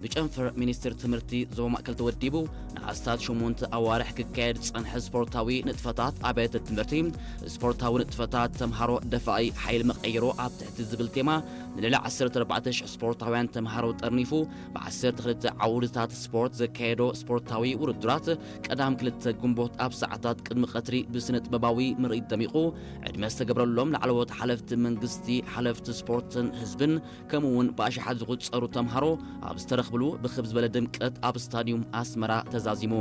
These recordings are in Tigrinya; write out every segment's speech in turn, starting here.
ብጨንፈር ሚኒስትር ትምህርቲ ዞባ ማእከል ተወዲቡ ንኣስታት ሸሞንተ ኣዋርሕ ክካየድ ዝጸንሐ ስፖርታዊ ንጥፈታት ኣብያተ ትምህርቲ፣ ስፖርታዊ ንጥፈታት ተምሃሮ ደፋኢ ሓይሊ መቐይሮ ኣብ ትሕቲ ዝብል ቴማ ንልዕሊ ዓሰርተ ኣርባዕተ ሽሕ ስፖርታውያን ተምሃሮ ጠርኒፉ ብ ዓሰርተ ክልተ ዓውድታት ስፖርት ዘካየዶ ስፖርታዊ ውድድራት ቀዳም ክልተ ግንቦት ኣብ ሰዓታት ቅድሚ ቀትሪ ብስነ ጥበባዊ ምርኢት ደሚቑ ዕድመ ዝተገብረሎም ላዕለዎት ሓለፍቲ መንግስቲ፣ ሓለፍቲ ስፖርትን ህዝብን ከምኡ እውን ብኣሽሓት ዝቑጸሩ ተምሃሮ ኣብ ዝተረኽብሉ ብኽብ ዝበለ ድምቀት ኣብ ስታድዩም ኣስመራ ተዛዚሙ።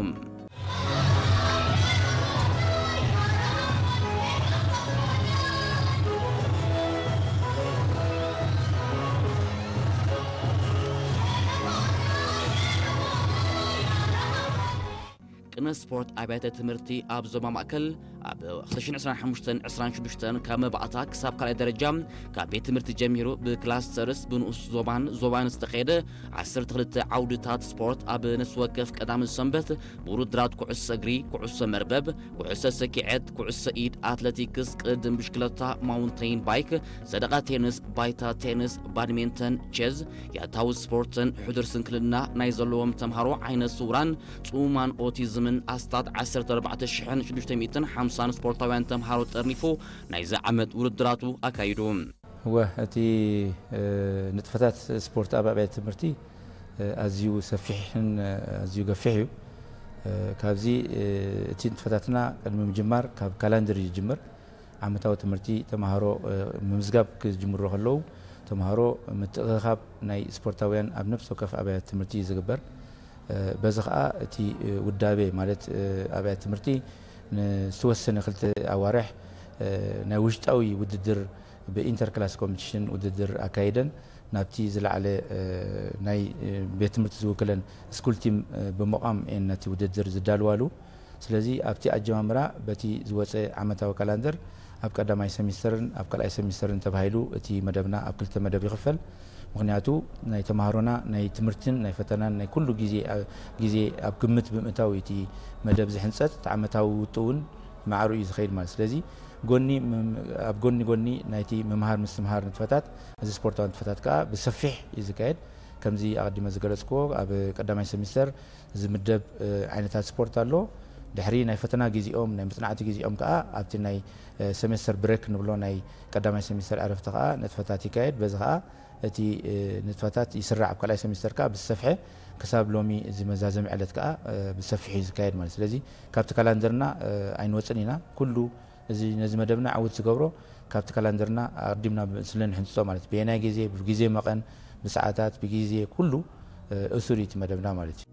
ቅነ ስፖርት ኣብያተ ትምህርቲ ኣብ ዞባ ማእከል ኣብ ክልተ ሽሕን ዕስራን ሓሙሽተን ዕስራን ሽዱሽተን ካብ መባእታ ክሳብ ካልኣይ ደረጃ ካብ ቤት ትምህርቲ ጀሚሩ ብክላስተርስ ብንኡስ ዞባን ዞባን ዝተኸየደ ዓሰርተ ክልተ ዓውድታት ስፖርት ኣብ ነፍሲ ወከፍ ቀዳምን ሰንበት ብውድድራት ኩዕሶ እግሪ፣ ኩዕሶ መርበብ፣ ኩዕሶ ሰኪዐት፣ ኩዕሶ ኢድ፣ ኣትለቲክስ፣ ቅድድም ብሽክለታ፣ ማውንተይን ባይክ፣ ሰደቓ ቴንስ፣ ባይታ ቴንስ፣ ባድሜንተን፣ ቸዝ፣ ያታዊ ስፖርትን ሕዱር ስንክልና ናይ ዘለዎም ተምሃሮ ዓይነ ስውራን ጽሙማን ኦቲዝምን ኣስታት ዓሰርተ ኣርባዕተ ሽሕን ሽዱሽተ ሚእትን ሓምሳን ስፖርታውያን ተምሃሮ ጠርኒፉ ናይዚ ዓመት ውድድራቱ ኣካይዱ። እወ፣ እቲ፣ እ፣ ንጥፈታት ስፖርት ኣብ ኣብያተ ትምህርቲ፣ እ፣ ኣዝዩ ሰፊሕን፣ እ፣ ኣዝዩ ገፊሕ እዩ። እ፣ ካብዚ፣ እ፣ እቲ ንጥፈታትና ቅድሚ ምጅማር ካብ ካላንደር እዩ ዝጅምር። ዓመታዊ ትምህርቲ ተምሃሮ፣ እ፣ ምምዝጋብ ክጅምሩ ከለዉ፣ ተምሃሮ ምትእኽኻብ ናይ ስፖርታውያን ኣብ ነፍሲ ወከፍ ኣብያተ ትምህርቲ እዩ ዝግበር። እ፣ በዚ ኸኣ እቲ፣ እ፣ ውዳቤ ማለት፣ እ፣ ኣብያተ ትምህርቲ ንዝተወሰነ ክልተ ኣዋርሕ፣ እ፣ ናይ ውሽጣዊ ውድድር ብኢንተር ክላስ ኮምፒቲሽን ውድድር ኣካይደን ናብቲ ዝለዓለ፣ እ፣ ናይ፣ እ፣ ቤት ትምህርቲ ዝውክለን ስኩል ቲም፣ እ፣ ብምቋም እየን ነቲ ውድድር ዝዳልዋሉ። ስለዚ ኣብቲ ኣጀማምራ በቲ ዝወጸ ዓመታዊ ካላንደር ኣብ ቀዳማይ ሰሚስተርን ኣብ ካልኣይ ሰሚስተርን ተባሂሉ እቲ መደብና ኣብ ክልተ መደብ ይኽፈል። ምኽንያቱ ናይ ተምሃሮና ናይ ትምህርትን ናይ ፈተናን ናይ ኩሉ ግዜ፣ አ-፣ ግዜ ኣብ ግምት ብምእታው እዩ እቲ መደብ ዝሕንጸጽ። እቲ ዓመታዊ ውጥእ እውን ማዕሩ እዩ ዝኸይድ ማለት። ስለዚ ጎኒ ምም-፣ ኣብ ጎኒ ጎኒ ናይቲ ምምሃር ምስትምሃር ንጥፈታት፣ እዚ ስፖርታዊ ንጥፈታት ከኣ ብሰፊሕ እዩ ዝካየድ። ከምዚ ኣቐዲመ ዝገለጽክዎ፣ ኣብ ቀዳማይ ሰሚስተር ዝምደብ፣ እ፣ ዓይነታት ስፖርት ኣሎ። ድሕሪ ናይ ፈተና ግዜኦም፣ ናይ መጽናዕቲ ግዜኦም ከኣ ኣብቲ ናይ፣ እ፣ ሰሜስተር ብሬክ ንብሎ ናይ ቀዳማይ ሰሜስተር ዕረፍቲ ከኣ ንጥፈታት ይካየድ። በዚ ከኣ እቲ፣ እ፣ ንጥፈታት ይስራዕ። ኣብ ካልኣይ ሰሜስተር ከኣ ብዝሰፍሐ ክሳብ ሎሚ እዚ መዛዘሚ ዕለት ከኣ፣ እ፣ ብሰፊሑ እዩ ዝካየድ ማለት። ስለዚ ካብቲ ካላንደርና፣ እ፣ ኣይንወጽን ኢና። ኩሉ እዚ ነዚ መደብና ዕዉት ዝገብሮ ካብቲ ካላንደርና ኣቐዲምና ስለ ንሕንጽጾ ማለት፣ ብየናይ ግዜ፣ ብግዜ መቐን፣ ብሰዓታት፣ ብግዜ ኩሉ፣ እ፣ እሱር እዩ እቲ መደብና ማለት እዩ።